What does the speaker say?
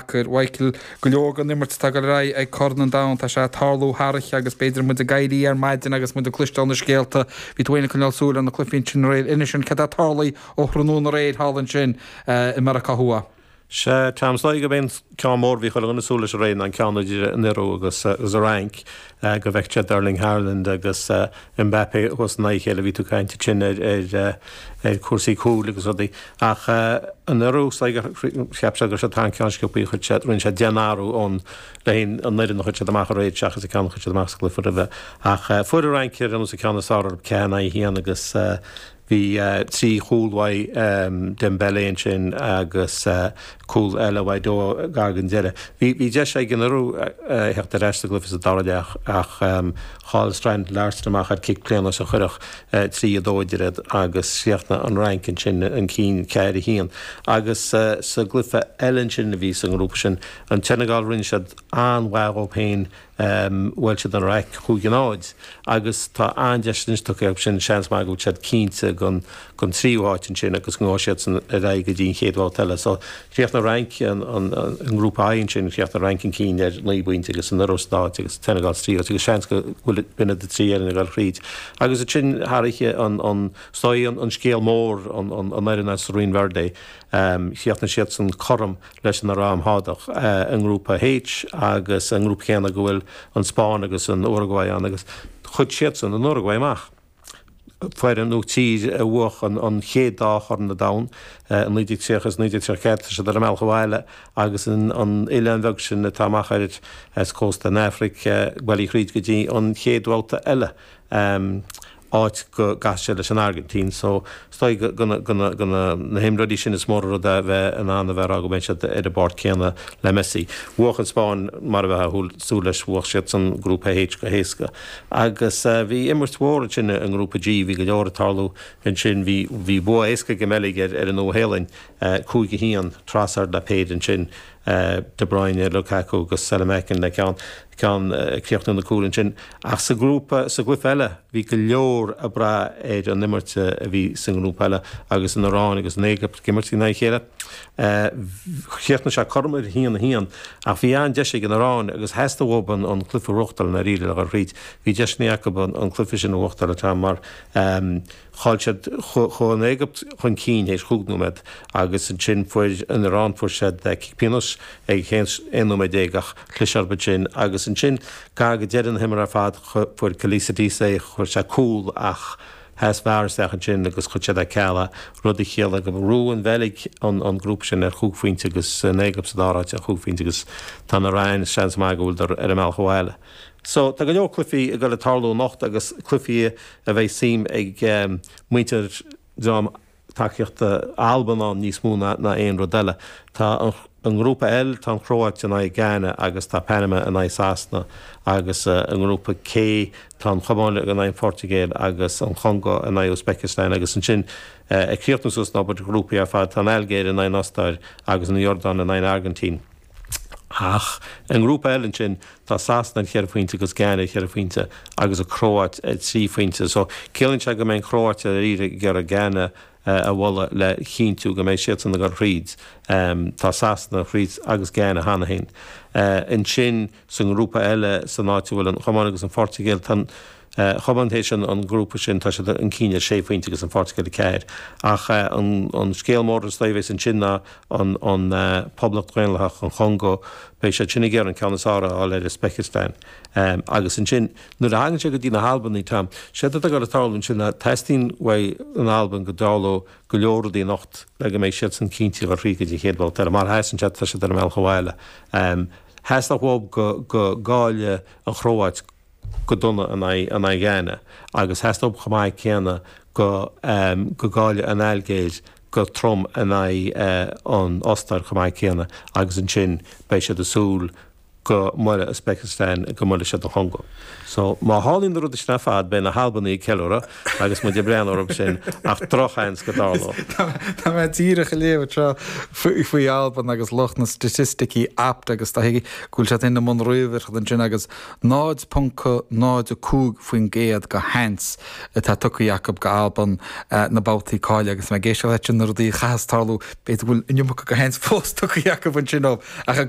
Sacair. Mhichael, go leor den imirt atá ag dul ar aghaidh ag Corn an Domhain, tá sé ag tarlú thar oíche agus b'fhéidir muid ag éirí ar maidin agus muid ag cloisteáil na scéalta. Bhí tú féin ag coinneáil súil ar na cluichí ansin aréir. Inis dúinn céard atá tarlaithe ó thráthnóna aréir thall ansin i Meiriceá Thuaidh. Sea, Tom, is dóigh gurb é an ceann mór a bhí chuile dhuine ag súil leis aréir ná an ceann idir an Iorua agus an Fhrainc, go bhfeicfeadh siad Erling Haaland agus Mbappé thuas in aghaidh a chéile. Bhí tú ag caint ansin ar chúrsaí cúil agus rudaí. Ach an Iorua, is dóigh gur cheap siad go raibh siad thar an ceann sciobthaí, chuir siad, rinne siad 10 n-athrú ón, le haghaidh an fhoireann a chuir siad amach aréir seachas an ceann a chuir siad amach sa gcluiche roimhe. Ach fuair an Fhrainc ar aon nós an ceann is fearr orthu, 4 in aghaidh 1 agus Bhí 3 chúl uaidh Dembele ansin agus cúl eile uaidh Doue gar don deireadh. Bhí deis ag an Iorua a theacht ar ais sa gcluiche sa dara leath ach chaill Strand Larsen amach ar cic pionóis a chuirfeadh 3, 2 idir iad agus chríochnaigh an Fhrainc ansin chun cinn 4, 1. Agus sa gcluiche eile ansin a bhí sa ngrúpa sin, an tSeineagáil, rinne siad an-mhaith dhóibh féin Bhuail siad an Iaráic 5-0 agus tá an-deis anois tugtha acu sin, seans maith go bhfuil siad cinnte den tríú háit ansin agus go ngabhfaidh siadsan ar aghaidh go dtí an chéad bhabhta eile. So chríochnaigh an Fhrainc i ngrúpa I ansin, chríochnaigh an Fhrainc chun cinn ar 9 bpointe agus an Iorua sa dara háit agus Senegal sa tríú háit agus seans go bhfuil b'in iad na 3 fhoireann ag dul thríd. Agus ansin thar oíche an is dóigh an scéal mór an fhoireann as Rinn Verde, chríochnaigh siadsan cothrom leis an Aráib Shádach i ngrúpa H agus an ngrúpa céanna go bhfuil an Spáinn agus an Uruguay ann agus chuir siadsan an Uruguay amach. Foireann nó tír a bhuach an chéad dá Chorn an Domhain i 1930 agus 1934, tá siad ar a mbealach abhaile agus an oileán bheag sin atá amach ar as cósta an Afraic bailithe thríd go dtí an chéad bhabhta eile. áit go gcasfaidh siad leis an Airgintín so is dóigh go go na himreoirí sin is mór an rud é a bheith in ann a bheith ag rá go mbeidh siad ar an bpáirc céanna le Messi. Bhuach an Spáinn mar a bheifeá ag súil leis, bhuach siadsan Grúpa H go héasca. Agus bhí imirt mhór ansin i nGrúpa G, bhí go leor ag tarlú ansin, bhí bhí bua éasca ag an mBeilg ar ar an Nua-Shéalainn, 5 1, Trossard le péire ansin, De Bruyne, Lukaku agus Saelemaekers le ceann ceann ag críochnú na cúil ansin. Ach sa ghrúpa, sa gcluiche eile, bhí go leor ag brath ar an imirt a bhí sa ngrúpa eile agus an Iaráin agus an Éigipt ag imirt in aghaidh a chéile. Chríochnaigh sé cothrom ar 1, 1 ach bhí an-deis ag an Iaráin agus theastaigh uathu an cluiche a bhuachtáil i ndáiríre le dhul thríd. Bhí deiseanna acu an cluiche sin a bhuachtáil an t-am mar Chaill siad, chuaigh an Éigipt chun cinn théis chúig nóiméad agus ansin fuair an Iaráin, fuair siad cic pionóis ag 11 nóiméad ach chlis orthu ansin agus ansin gar go deireadh na himeartha ar fad fuair Kholilzadeh, fuair sé cúl ach sheas VAR isteach ansin agus chuir siad ar ceal é, rud a chiallaigh go raibh an Bheilg an grúpa sin ar chúig phointe agus an Éigipt sa dara háit ar chúig phointe agus tá an Iaráin, seans maith go bhfuileadar ar a mbealach abhaile. So tá go leor cluichí ag dul ag tarlú anocht agus cluichí a bheidh suim ag muintir dream tacaíochta Alban ann níos mó ná aon rud eile. Tá an ngrúpa L, tá an Chróit in aghaidh Ghana agus tá Panama in aghaidh Sasana agus i ngrúpa K tá an Chomáin in aghaidh an Phortaingéil agus an Chongó in aghaidh Uzbekistan agus ansin ag críochnú suas an obair ghrúpaí ar fad tá an Ailgéir in aghaidh an Ostáir agus an Iordáin in aghaidh an Airgintín. Ach i ngrúpa L ansin, tá Sasana ar cheithre phointe agus Ghana ar cheithre phointe agus an Chróit ar thrí phointe. So, ciallaíonn sé go mbeidh an Chróit ar iarraidh ag iarraidh Ghana a bhualadh le chinntiú go mbeidh siadsan ag dul thríd. Tá Sasana thríd agus Ghana cheana féin. Ansin sa ngrúpa eile, san áit a bhfuil an Chomáin agus an Phortaingéil, tá an Chomáin théis an grúpa sin, tá siad chun cinn ar sé phointe agus an Phortaingéil ar ceathair. Ach an scéal mór is dóigh a bheas ansin ná an Poblacht Dhaonlathach an Chongó, beidh siad sin ag iarraidh an ceann is fearr a fháil ar Uzbekistan. Agus ansin, nuair a thagann sé go dtí na hAlbanaigh, Tom, séard atá ag dul ag tarlú ansin ná teastaíonn uaidh an Albain go dtarlódh go leor rudaí anocht le go mbeidh siadsan cinnte a dhul thríd go dtí an chéad bhabhta eile. Má sheasann siad, tá siad ar a mbealach abhaile. Theastódh uathu go go gcaillfeadh an Chróit go dona in aghaidh Ghana agus theastódh chomh maith céanna go go gcaillfeadh an Ailgéir go trom in aghaidh an Ostáir chomh maith céanna agus ansin beidh siad ag súil go mbuailfidh Uzbekistan, go mbuailfidh siad an Chongó. So má tharlaíonn na rudaí sin ar fad beidh na hAlbanaigh ag ceiliúradh agus muid ag breathnú orthu sin ach drochsheans go dtarlódh. Tá mé díreach ag léamh anseo faoi Albain agus lucht na staitisticí Opta agus tá go bhfuil siad féin i mbun ríomhaireachta ansin agus 0.05% de sheans atá tugtha acu go Albain na babhtaí cáilithe agus mé ag éisteacht leat sin na rudaí a chaithfeas tarlú b'fhéidir go bhfuil an iomarca de sheans fós tugtha acu ansin dóibh. Ach.